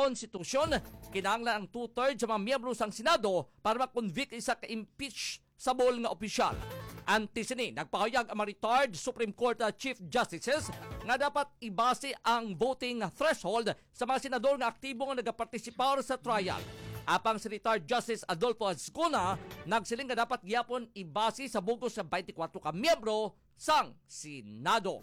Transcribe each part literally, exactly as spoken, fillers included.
Konstitusyon, kinahanglan ang two-thirds sa mga miyembro sang Senado para ma-convict isa ka impeachable nga opisyal. Antes sini, nagpahayag ang mga retired Supreme Court, uh, Chief Justices nga dapat ibase ang voting threshold sa mga senador nga aktibo nga nagapartisipar sa trial. Apang si retired Justice Adolfo Azcuna nagsiling nga dapat gyapon ibase sa bug-os sa twenty-four ka miyembro sang Senado.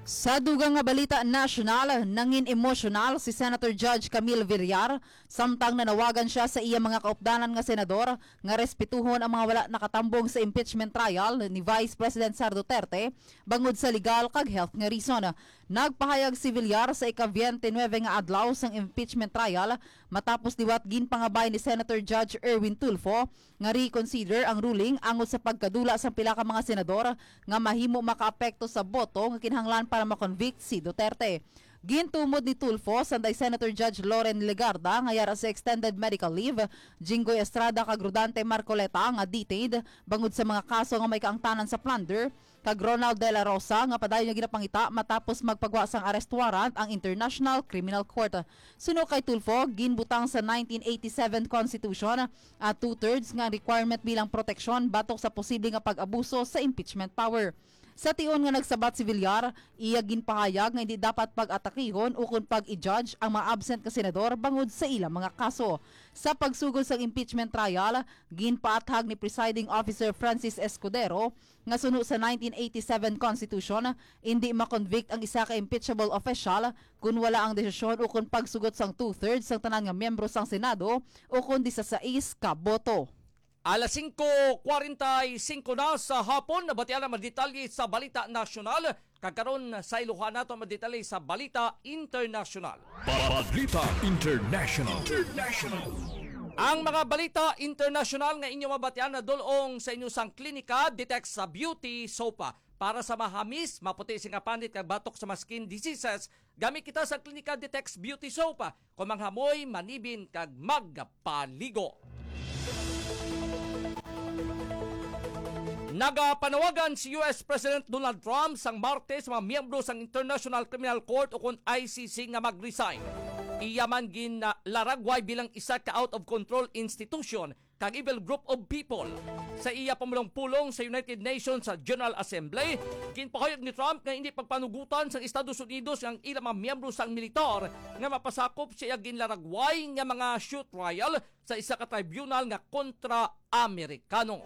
Sa dugang nga balita nasyonal, nangin emosyonal si Senator Judge Camille Villar samtang nanawagan siya sa iya mga kaupdanan nga senador nga respetuhon ang mga wala nakatambong sa impeachment trial ni Vice President Sara Duterte bangod sa legal kag health nga reason. Nagpahayag si Villar sa ika-twenty-nine nga adlaw sang impeachment trial matapos liwat ginpangabay ni Senator Judge Erwin Tulfo nga reconsider ang ruling angot sa pagkadula sang pila ka mga senador nga mahimo makaapekto sa boto nga kinahanglan para ma-convict si Duterte. Gintumod ni Tulfo sanday Senator Judge Loren Legarda nga yara sa extended medical leave, Jinggoy Estrada kag Rodante Marcoleta nga detained bangod sa mga kaso nga may kaangtanan sa plunder, kag Ronald De La Rosa nga padayon nga ginapangita matapos magpagwa sang arrest warrant ang International Criminal Court. Suno kay Tulfo, ginbutang sa nineteen eighty-seven Constitution at two-thirds nga requirement bilang proteksyon batok sa posible nga pag-abuso sa impeachment power. Sa tion nga nagsabat si Villar, iya ginpahayag nga hindi dapat pag-atakihon ukon pag-i-judge ang mga absent nga senador bangod sa ilang mga kaso. Sa pagsugod sa impeachment trial, ginpaathag ni Presiding Officer Francis Escudero nga suno sa nineteen eighty-seven Constitution, indi ma-convict ang isa ka impeachable official kon wala ang desisyon ukon pagsugot sang two-thirds sang tanan nga miyembro sang Senado ukon disasais ka boto. Alas singko kwarenta y singko na sa hapon, nabatian ang mga detalye sa balita nasyonal. Kag karon, sayluhan nato ang mga detalye sa balita internasyonal. Balita international. International. Ang mga balita internasyonal nga inyo mabatian nadul-ong sa inyo sang klinika, Ditex sa Beauty Soap. Para sa mahamis, maputi sing panit kag batok sa mga skin diseases, gami kita sa Klinika Detox Beauty Soap. Kung manghamoy, manibin kag magpaligo. Nagapanawagan si U S President Donald Trump sang Martes sa mga miyembro sang International Criminal Court ukon I C C nga mag-resign. Iya man ginlaragway bilang isa ka out-of-control institution kag evil group of people. Sa iya pamulong-pulong sa United Nations sa General Assembly, ginpahayag ni Trump nga hindi pagpanugutan sang Estados Unidos ang ilang mga miyembro sang militar nga mapasakop sa iya ginlaragway nga mga shoot trial sa isa ka tribunal nga kontra Amerikano.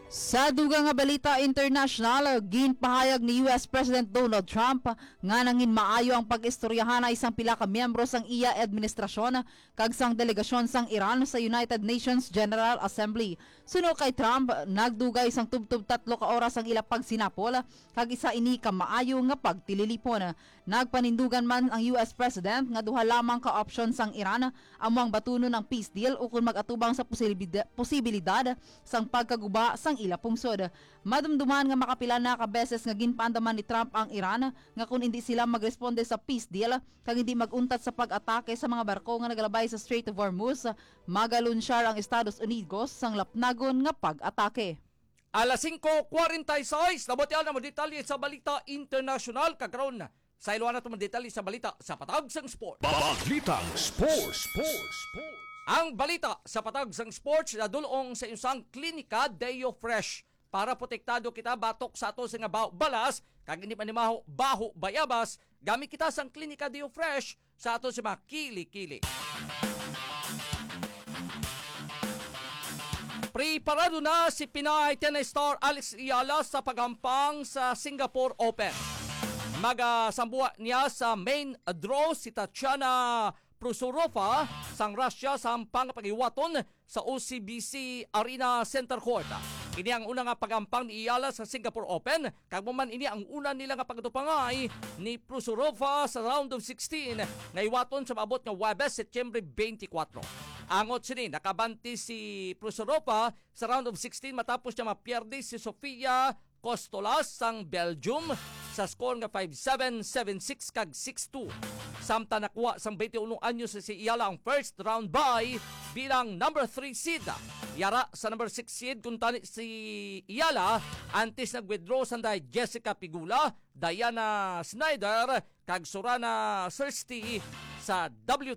Sa dugang nga balita international, ginpahayag ni U S President Donald Trump nga nangin maayo ang pag-istoryahanay sang pila ka miyembro sang iya administrasyon kag sang delegasyon sang Iran sa United Nations General Assembly. Suno kay Trump, nagdugay sang tubtob tatlo ka oras ang ila pagsinapol, kag isa ini ka maayo nga pagtililipon. Nagpanindugan man ang U S President nga duha lamang ka option sang Iran, amo ang batunon ang peace deal ukon mag-atubang sa posibilida-, posibilidad sang pagkaguba sang ila pungsod. Madumduman nga makapila na ka beses nga ginpaandaman ni Trump ang Iran nga kon indi sila magresponde sa peace deal, kag hindi mag-untat sa pag-atake sa mga barko nga nagalabay sa Strait of Hormuz, magalunsyar ang Estados Unidos sang lapnagon nga pag-atake. Alas singko kwarenta y seis, nabatian ang mga detalye sa balita internasyonal. Kag karon, sayluhan nato ang detalye sa balita sa patag sang sport. Balitang sports. Sports. Ang balita sa patag sang sports nadul-ong sa inyong klinika Deo Fresh. Para protektado kita batok sa ato sa nga baho balas, kag hindi manimaho baho bayabas, gamit kita sang Klinika Deo Fresh sa ato sa mga kili-kili. Preparado na si Pinay tennis star Alex Eala sa paghampang sa Singapore Open. Magasambuha niya sa main draw si Tatiana Prosorova sang Russia sa hampang nga paghiwaton sa O C B C Arena Center Court. Ini ang una nga pagampang ni Eala sa Singapore Open, kag amo man ini ang una nila nga pagtupangay ni Prosorova sa round of sixteen nga hiwaton sa maabot nga Huwebes, Setyembre twenty-four. Angot sini, nakabante si Prosorova sa round of sixteen matapos niya mapierde si Sofia Costolas sang Belgium sa score nga five seven, seven six, kag six two. Samtang nakuha sang twenty-uno anyos si Eala ang first round bye bilang number three seed. Yara sa number six seed kuntani si Eala, antes nag-withdraw sanday Jessica Pegula, Diana Snyder, kag Sorana Sirsti sa W